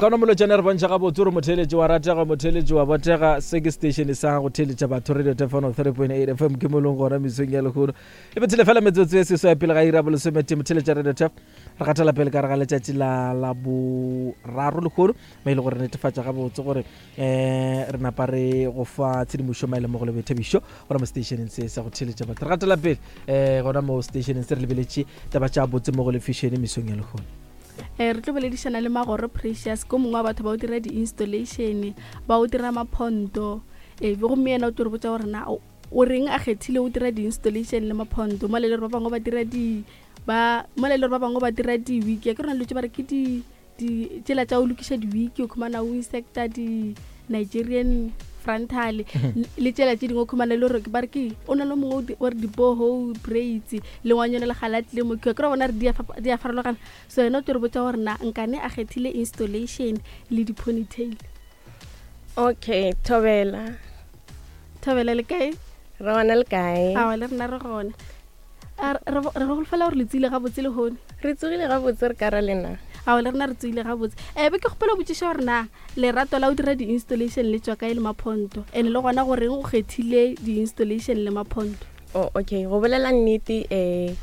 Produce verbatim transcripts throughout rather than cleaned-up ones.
Mokana Molotšane re bontšha gabotse gore motheeletši wa ratega, motheeletši wa botega. Se ke station sa go theeletša batho, Radio Tefano three point eight F M, ke mo leng gona mesong ya lehono. E bethile fela metsotso e seswai pele ga ira bolesometee. Motheeletša Radio Tef, re gatela pele ka re ga letšatši la la boraro lehono, mo e le gore netefatša gabotse gore um re napa re go fa tshedimošo maele mo go le boithabišo gona mo stationeng se sa go theeletša batho. Re gatela pele um gona mo stationeng se re lebeletše taba tša botse mo go le fashion mesong ya lehono. Eh, re tlo boledišana le Magoro Precious, ko mongwe wa batho ba o dira di-installation, ba o dira maphonto. Eh, gomme yena o tlo re botša gore na o o reng a kgethile o dira di-installation le maphonto, mola e le gore ba bangwe ba dira di ba mola e le gore ba bangwe ba dira di-wig. Ke rona dilo tše ba re ke di di tsela tša go lokiša di-wig, o khumana o insecta di-Nigerian frontal le tsela tše dingwe, o khumana le gore ba re ke o na le mongwe o di- o re di-boho braids le ngwanyana le gala tlile mo ke re bona re di a fapa- di a farologana. So yena o tlo re botša gore na nkane a kgethile installation le di-ponytail. Okay, thobela. Thobela, le kae? Re gona, le kae? Awa, le rena re gona. A re re re golofela gore le tsile gabotse le hone. Re tsogile gabotse, re ka ra lena? Ao, le rena re tsogile gabotse. um be ke kgopela go botšiša gore na lerato la go dira di-installation le tswa kae le maphonto, and le gona goreng o kgethile di-installation le maphonto? Oh, okay, go bolela nnete, um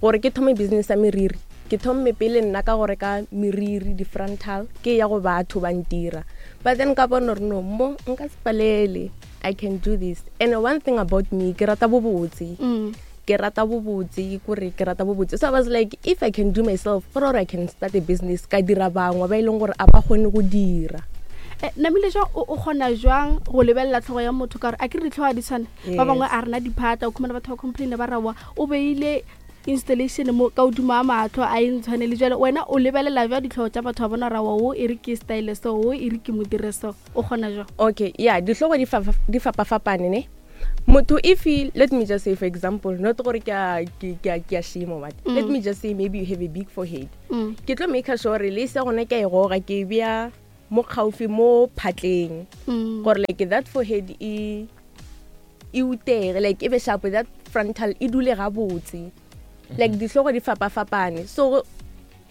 gore ke thome business ya meriri, ke thomme pele nna ka go reka meriri, di-frontal, ke ya go batho ba ntira. But then ka bona gore no, mo nka se palele, I can do this. And one thing about me, ke rata bobotse. Mm. Ke rata bobotse, kore ke rata bobotse. So I was like, if I can do myself, gore I can start a business, ka dira bangwe ba e leng gore a ba kgone go dira. Eh, namile jwang o o kgona jwang go lebelela tlhogo ya motho, ka gore a ke re ditlhogo ga di tshwane? Ba bangwe a rena diphata, o khumana batho ba complaina ba rawa o beile installation mo ka godimo a matlho a e ntshwane le. Jale wena o lebelela jwa ditlhogo tša batho ba bona rawa o e re ke style so, o e re ke mo dire so, o kgona jwang? Okay, yeah, ditlhogo di fa- di fapafapane ne. Motho if he, let me just say, for example, not gore ke a ke ke a ke a shame or what, Mm. let me just say maybe you have a big forehead, Mm. ke tlo make sure le se gona ke a e goga, ke e bea mo gaufi mo phatleng, Mm. gore like that forehead e e utege, like e be sharp, that frontal e dule gabotse. Like ditlhogo di fapafapane. So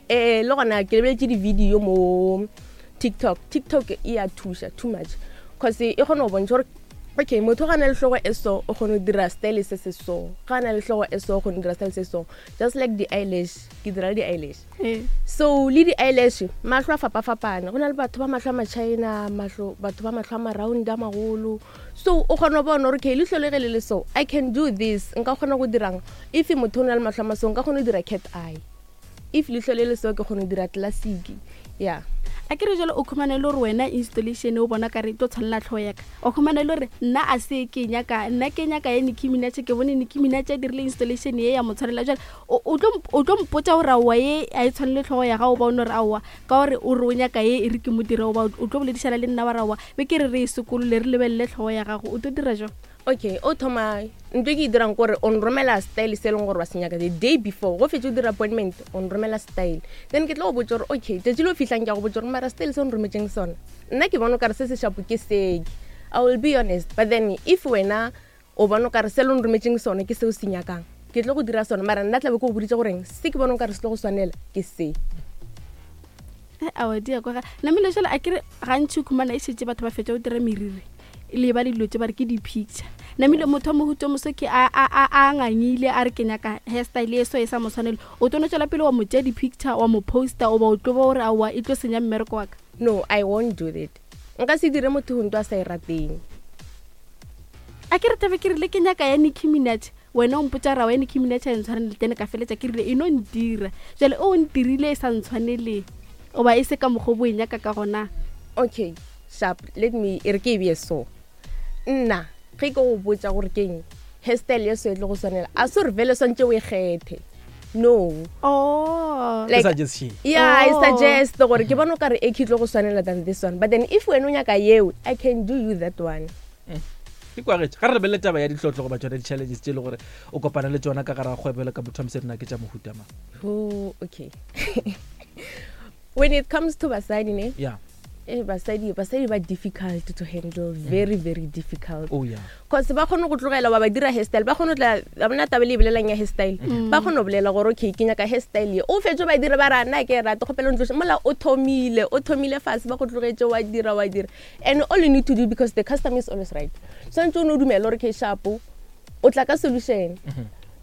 eh le gona ke lebeletse di-video mo TikTok. TikTok e a thuša too much, cause e kgona go bontšha gore okay, motho ga na le tlhogo e so, o kgone go dira style se se so, ga na le tlhogo e so, o kgone go dira style se so. Just like di-eyelash, ke dira le di-eyelash. Eh. So le di-eyelash, mahlo a fapafapane. Go na le batho ba mahlo a machina, mahlo, batho ba mahlo a maround a magolo. So o kgona go bona gore okay, leihlo le ge le le so, I can do this, nka kgona go dirang. If motho o na le mahlo a maso, nka kgona go dira cat eye. If leihlo le le so, ke kgona go dira classic, yeah. A ke re jalo o khumane le gore wena installation o bona kare e tlo tshwanela tlhogo yaka, o khumane le gore nna a se ke nyaka, nna ke nyaka ya Nicki Minaj, ke bone Nicki Minaj a dirile installation ye ya mo tshwanela. Jale o o tlo mp- o tlo mpotsa gore aowa, ye a e tshwanele tlhogo ya gago, ba o ne gore aowa, ka gore o re o nyaka ye e re ke mo dire, oba o tlo boledišana le nna wa re aowa, be ke re re e sekolole, re lebelele tlhogo ya gago, o tlo dira jang? Okay, o thoma, ntho e ke e dirang kore o nromela style se e leng gore wa se nyaka the day before go fetse o dira appointment. O nromela style, then ke tlo go botsa gore okay, tšatši le o fitlhang ke a go botsa gore mara style se o nrometseng sona, nna ke bona o kare se se shapo ke seke. I will be honest. But then if wena o bona o kare se le o nrometseng sona ke seo se nyakang, ke tlo go dira sona, mara nna tlabe ke go boditse goreng se ke bona o kare se tlo go swanela ke se. Eh, aowa, di ya kwa ga namile. Jale a kere gantši o khumana e šetse batho ba fetsa go dira meriri le ba le dilo tse ba re ke di-picture. Namile motho wa mohuto moso ke a a- a a ngangile a re ke nyaka hairstyle e so e sa mo tshwanele, o tlo no tswela pele wa mo tšea di-picture, wa mo posta, oba o tlo ba gore aowa, e tlo senya mmereko wa ka? No, I won't do that. Nka se dire motho ntho a sa e rateng. A ke re tabe ke rile ke nyaka ya Nicki Minaj, wena o mpotsa ra wa ya Nicki Minaj a e ntshwanele, tene ka feletša ke rile e no ntira. Jale o ntirile e sa ntshwanele, oba e se ka mokgwa o bo e nyaka ka gona? Okay, sharp, let me e re ke e beye so. Nna ge ke go botsa gore keng hairstyle ye so e tlo go swanela, a se gore vele swantse o e kgethe, no. Oh. Ke Like- suggestion. Yeah, I Oh. suggest gore ke bona o kare e ke tlo go swanela than this one. But then if wena o nyaka yeo, I can do you that one. Di kwagetše. Ga re lebelele taba ya ditlhotlho goba tsona di-challenges tše e le gore o kopana le tsona ka gare ga kgwebo le ka motho wa mosadi, na ke tša mohuta mang? Oh, okay, when it comes to basadi ne, yeah Eh, basadi basadi ba difficult to handle, very very difficult. Oh yeah. Cause ba kgone go tlogela wa ba dira hairstyle, ba kgone go tla ba bona taba le e bolelang ya hairstyle, ba kgone go bolela gore okay, ke nyaka hairstyle ye, o fetse ba dira ba ra nna ke e rate kgopela ntloše mola o thomile o thomile fase, ba go tlogetse wa dira wa dira. And all you need to do, because the customer is always right, swantse o ne o dumele gore ke sharpo, o tla ka solution.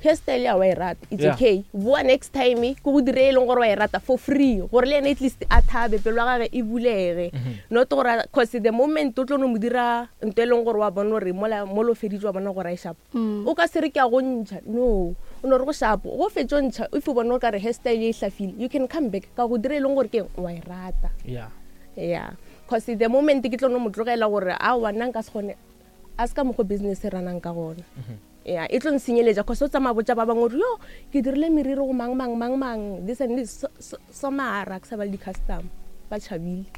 Hairstyle ya wa e rata, it's Yeah. okay, boa next time ke go dire e leng gore wa e rata for free, gore le ene at least a thabe, pelo ya gage e bulege. Not gore, cause the moment o tlo no mo dira ntho e leng gore wa bona gore mola mo lo feditse, wa bona gore a e sharp, Mm. o ka se re ke a go ntšha, no, o no re go sharp, go fetso ntšha. If o bona o ka re hairstyle e hlafile, you can come back ka go dira e leng gore ke eng, wa e rata. Yeah. Yeah, cause the moment ke tlo no mo tlogela gore a wa nna nka se kgone, a se ka mokgwa business e ranang ka gona. Yeah, e tlo nsenyeletša, cause o tsamaya botša ba bangwe gore yo ke dirile meriri go mang mang mang mang, this and this, so, so, so mara ke sa ba le di-customer ba tšhabile.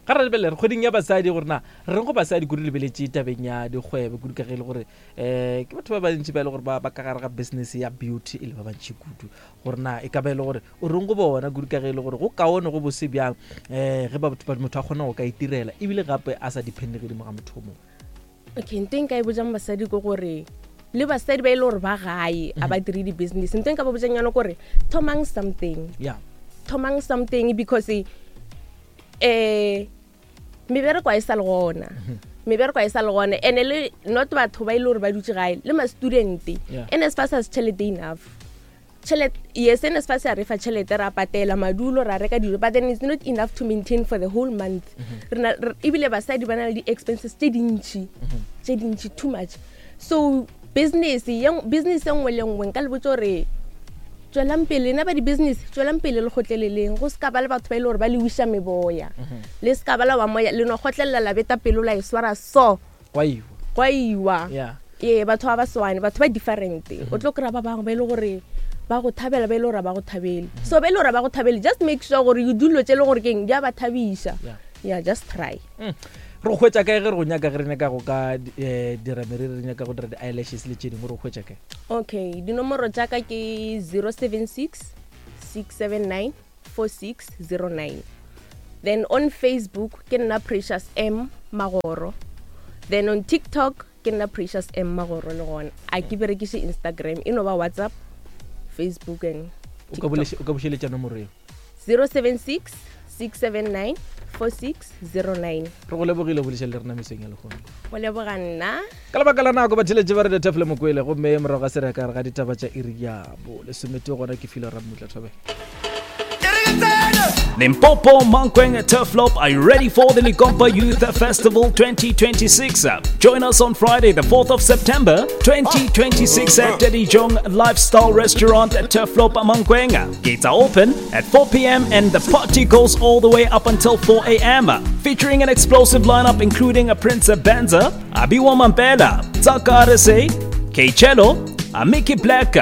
Ga re lebelele re kgweding ya basadi, gore na re reng go basadi kudu lebeletše tabeng ya dikgwebo, kudu ka ge e le gore um ke batho ba bantši ba e le gore ba ba ka gare ga business ya beauty e le ba bantši kudu, gore na e ka ba e le gore o reng go bona, kudu ka ge e le gore go kaone go bose bjang um ge ba- batho ba- motho a kgona go ka itirela ebile gape a sa depende godimo ga motho o mongwe? Okay, nto e nka e botjang basadi ke gore le basadi ba e le gore ba gae a ba dire di-business, nto e nka ba botjang yona kore thomang something. Yeah thomang something, because eh mebereko a e sa le gona, mebereko a e sa le gona, and le not batho ba e le gore ba dutse gae le ma-student. Yeah. N S F A S has tšhelete enough, tšhelete, yes, N S F A S ya re fa tšhelete, ra patela madulo, ra reka dijo, but then it's not enough to maintain for the whole month. Re na- re- ebile basadi ba na le di-expenses tše dintšhi, tše dintšhi, too much. So business ye business e nngwe le nngwe nka le botsa gore tswelang pele nna ba di-business, tswelang pele le kgotleleleng, go se ka ba le batho ba e le gore ba le wiša meboya, le se ka ba la wa moya, le no kgotlelela, la beta pelo, la e swara so. Gwa iwa. Gwa iwa. Yeah ee, batho ba ba swane, batho ba different. O tlo kry-a ba bangwe ba e le gore ba go thabela, ba e le gore ba go thabele. So ba e le gore ba go thabele, just make sure gore you do dilo tse e le gore keng di a ba thabiša. Yeah. Yeah, just try. Mm. Re go hwetša kae ge re go nyaka, ge re nyaka go ka um dira meriri, re nyaka go dira di-eyelashes le tše dingwe, re go hwetša kae? Okay, dinomoro jaaka ke zero seven six six seven nine four six zero nine. Then on Facebook ke nna Precious M Magoro, then on TikTok ke nna Precious M Magoro le gona. A ke berekiše Instagram, e no ba WhatsApp, Facebook and O ka boleše- o ka bušeletša nomoro eo? zero seven six six seven nine four six zero nine. Re go lebogile go boleša le rena mesong ya lehono. Go leboga nna. Ka lebaka la nako, batheletše ba re Tefle Mokwele, gomme morago ga se re ka re ga ditaba tša iri ya bo lesometee, gona ke file Rammutla Thobela. Limpopo, Mankweng, Turfloop, are you ready for the Lekompo Youth Festival twenty twenty-six? Join us on Friday, the fourth of September twenty twenty-six at Teddy Jong Lifestyle Restaurant at Turfloop, Mankweng. Gates are open at four p m and the party goes all the way up until four a m. Featuring an explosive lineup including a Prince Benza, Abiwa Mampela, Tsaka R S A, K-Cello, Amiki Black,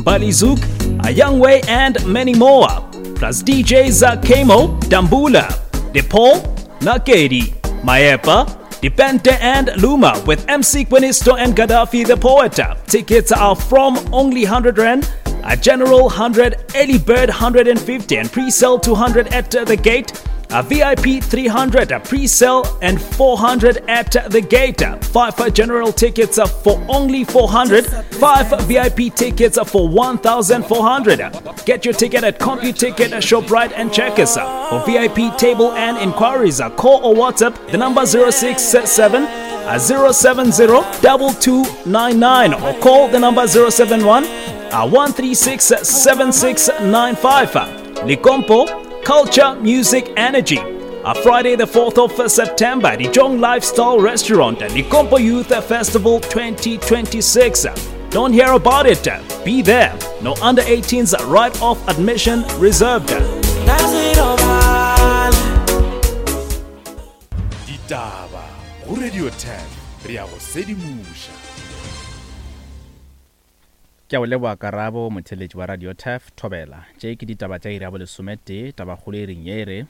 Balizuk, A Young Way, and many more. Plus D Js Kemo, Dambula, DePaul, Nakedi, Maepa, Depente and Luma with M C Quinisto and Gaddafi the Poet. Tickets are from only one hundred Rand, a general one hundred, early bird one hundred fifty and pre-sale two hundred at the gate. A V I P three hundred, a pre-sale and four hundred at the gate. Five general tickets are for only four hundred, five V I P tickets are for one thousand four hundred. Get your ticket at CompuTicket, ShopRite and Checkers. For V I P table and inquiries, call or WhatsApp the number zero six seven zero seven zero two two nine nine or call the number zero seven one one three six seven six nine five. Lekompo, Culture, Music, Energy. A Friday, the fourth of September, the Jong Lifestyle Restaurant, Lekompo Youth Festival twenty twenty-six. Don't hear about it, be there. No under eighteens, right off admission reserved. Ditaba go Radio ten, re ya go sedimoša. Ke a o leboa Karabo. Motheletši wa Radio Taf, thobela. Tše ke ditaba tša iri ya bolesometee. Tabakgolo e reng ye e re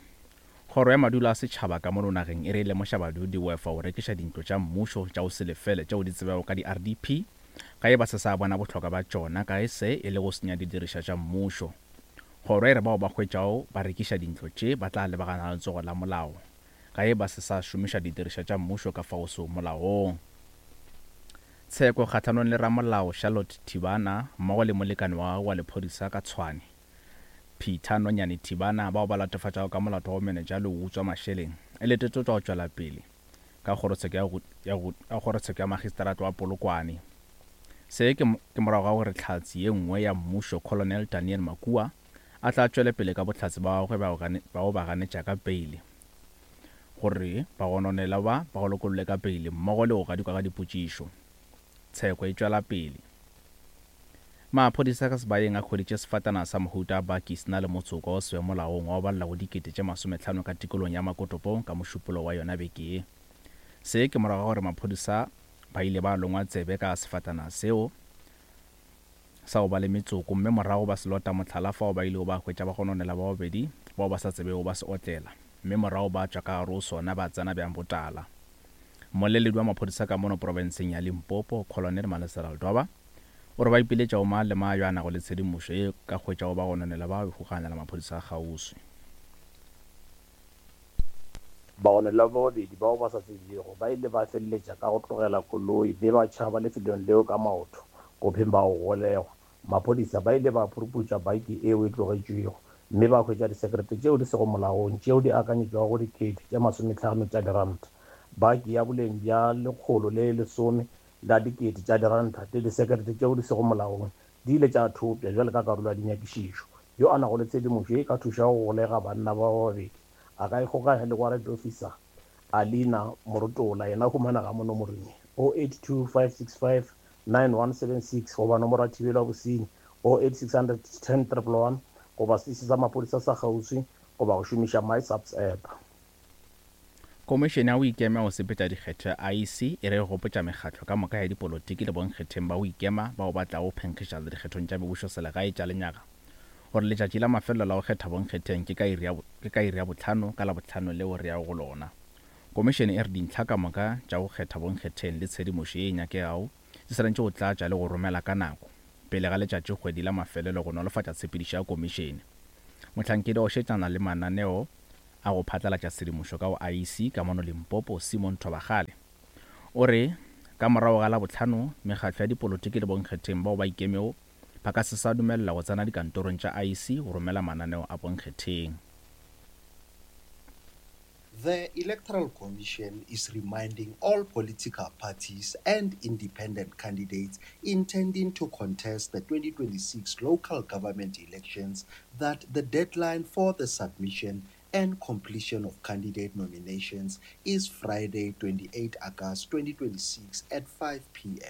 kgoro ya madulo a setšhaba ka mono nageng e re lemoša badudi wefa go rekiša dintlo tša mmušo tša go se lefele tšeo di tsebago ka di-R D P ka e ba se sa bona bohlokwa ba tšona, ka e se e le go senya didiriša tša mmušo. Kgoro e re bao ba hwetšago ba rekiša dintlo tše ba tla lebagana le letsogo la molao ga e ba se sa šomiša didirišwa tša mmušo ka fao seo molaong. Tsheko kgahlanong le ramolao Charlotte Thibana mmogo le molekane wa gagwe wa lephodisa ka Tshwane Peter Nonyane Thibana bao ba latofatšago ka molato wa bomenetša le go utswa mašeleng e letetšwe go tšwela pele ka kgorotsheko ya go- ya go- ya kgorotsheko ya magistrata wa Polokwane. Se ke mo- ke morago ga gore hlatse ye nngwe ya mmušo Colonel Daniel Makua a tla tšwele pele ka bohlatse ba gagwe ba go gane- ba go ba ganetša ka peile gore bagononelwa ba ba lokollwe ka peile mmogo le go gadikwa ka dipotšišo. Tsheko e tšwela pele. Maphodisa ka sebayeng a hweditše sefatanaga sa mohuta wa baki se na le motsoko wa se molaong wa go balela go dikete tše masomehlano ka tikolong ya Makotopong ka mošupologo wa yona beke ye. Se ke morago ga gore maphodisa ba ile ba longwa tsebe ka sefatanaga seo sa go ba le metsoko mme morago ba se lota mohlala fao ba ilego ba hwetša bagononelwa ba babedi bao ba sa tsebego ba se otlela mme morago ba tšwa ka gare go sona ba tsena bjang botala. Mmoleledi wa maphodisa ka mono profenseng ya Limpopo Colonel Malesela Ledwaba o re ba ipiletša go mang le mang yo a nago le tshedimošo ye ka hwetšago bagononelwa ba ikgokaganya le maphodisa a kgauswi. Bagononelwa ba babedi bao ba sa tsebjego ba ile ba feleletša ka go tlogela koloi mme ba tšhaba lefelong leo ka maoto go phema go golegwa. Maphodisa ba ile ba phuruphutša baki yeo e tlogetšwego mme ba hwetša disekerete tšeo di sego molaong tšeo di akanyetšwago go dikete tše masomehlano tša diranta. Baki ya boleng bja lekgolo le lesome la dikete tša diranta le disekerete tšeo di sego molaong di ile tša thopša bjalo ka karolo ya dinyakišišo. Yo a nago le tshedimošo ye e ka thušago go golega banna ba babedi a ka ikgokaganya le warrant officer Alina Morotola yena o humanega mo nomorong ye oh eight two five six five nine one seven six goba nomoro ya thibelo ya bosenyi oh eight six hundred ten triple one goba seiši sa maphodisa sa kgauswi goba go šomiša MySAPS app. Komišene ya go ikema go sepetša dikgetho ya I E C e re gopotša mekgatlo ka moka ya dipolotiki le bonkgetheng ba go ikema bao ba tlago phenkgišana dikgethong tša mebušoselegae tša lenyaga gore letšatši la mafelelo la go kgetha bonkgetheng ke ka iri ya bo-, ke ka iri ya bohlano ka Labohlano leo re yago go lona. Komišene e re dintlha ka moka tša go kgetha bonkgetheng le tshedimošo ye e nyakegago di swanetše go tlatša le go romela ka nako pele ga letšatši kgwedi la mafelelo go nolofatša tshepedišo ya komišene. Mohlankedi wa go šetšana le mananeo a go phatlalatša tshedimošo ka go I E C ka mono Limpopo Simon Thobakgale o re ka morago ga Labohlano mekgatlo ya dipolotiki le bonkgetheng bao ba ikemego ba ka se sa dumelela go tsena dikantorong tša I E C go romela mananeo a bonkgetheng. The Electoral Commission is reminding all political parties and independent candidates intending to contest the twenty twenty-six local government elections that the deadline for the submission and completion of candidate nominations is Friday, twenty-eighth August twenty twenty-six at five P M.